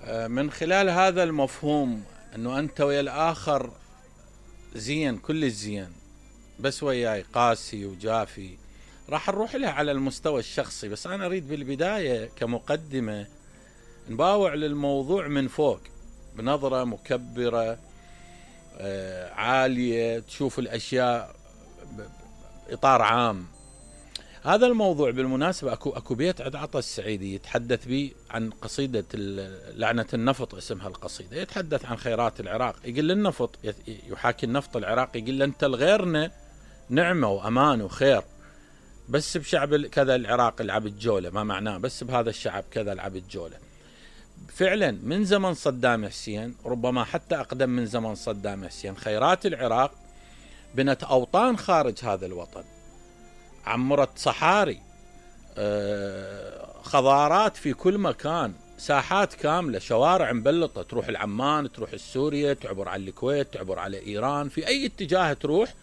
من خلال هذا المفهوم انه انت ويا الاخر زين، كل الزين، بس وياي قاسي وجافي، راح نروح لها على المستوى الشخصي. بس انا اريد بالبداية كمقدمة نباوع للموضوع من فوق بنظرة مكبرة عالية، تشوف الاشياء باطار عام. هذا الموضوع بالمناسبة اكو بيت عند عطا السعيدي يتحدث به عن قصيدة لعنة النفط، اسمها القصيدة، يتحدث عن خيرات العراق. يقول النفط، يحاكي النفط العراقي، يقول انت الغيرنا نعمة وامان وخير، بس بشعب كذا العراق لعب جولة، ما معناه بس بهذا الشعب كذا لعب جولة. فعلا من زمن صدام حسين، ربما حتى اقدم من زمن صدام حسين، خيرات العراق بنت اوطان خارج هذا الوطن، عمرت صحاري، خضارات في كل مكان، ساحات كاملة، شوارع مبلطة، تروح العمان، تروح السورية، تعبر على الكويت، تعبر على إيران، في أي اتجاه تروح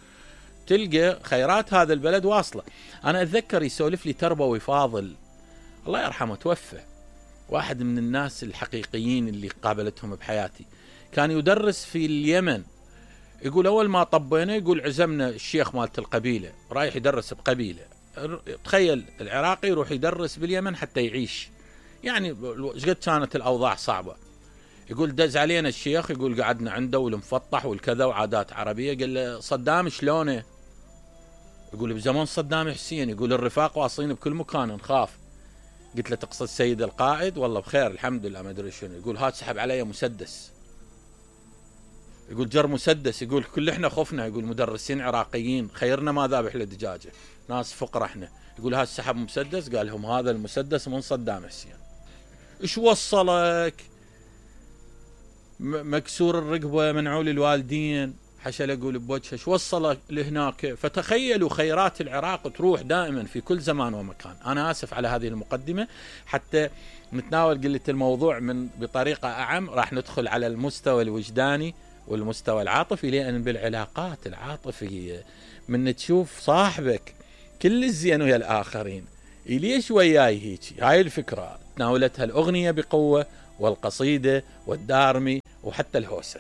تلقى خيرات هذا البلد واصلة. أنا أتذكر يسولف لي تربوي فاضل الله يرحمه، توفى، واحد من الناس الحقيقيين اللي قابلتهم بحياتي، كان يدرس في اليمن. يقول أول ما طبينا، يقول عزمنا الشيخ مالت القبيلة، رايح يدرس بقبيلة. تخيل العراقي يروح يدرس باليمن حتى يعيش، يعني قد كانت الأوضاع صعبة. يقول دز علينا الشيخ، يقول قعدنا عنده والمفطح والكذا وعادات عربية. قال له صدام شلونه؟ يقول بزمن صدام حسين، يقول الرفاق واصلين بكل مكان نخاف. قلت له تقصد سيد القائد؟ والله بخير الحمد لله ما ادري شنو. يقول هات سحب علي مسدس، يقول جر مسدس، يقول كل احنا خفنا، يقول مدرسين عراقيين، خيرنا ما ذابح لدجاجه، ناس فقراء احنا. يقول هات سحب مسدس، قال لهم هذا المسدس من صدام حسين. ايش وصلك؟ مكسور الرقبه، منعول الوالدين، حشل يقول بوجهه، ايش وصلك لهناك؟ فتخيلوا خيرات العراق تروح دائما في كل زمان ومكان. انا اسف على هذه المقدمه حتى نتناول قلة الموضوع من بطريقه اعم، راح ندخل على المستوى الوجداني والمستوى العاطفي. لأن بالعلاقات العاطفية من تشوف صاحبك كل الزين ويا الآخرين، ليش وياي هيك؟ هاي الفكرة تناولتها الأغنية بقوة، والقصيدة والدارمي وحتى الهوسة.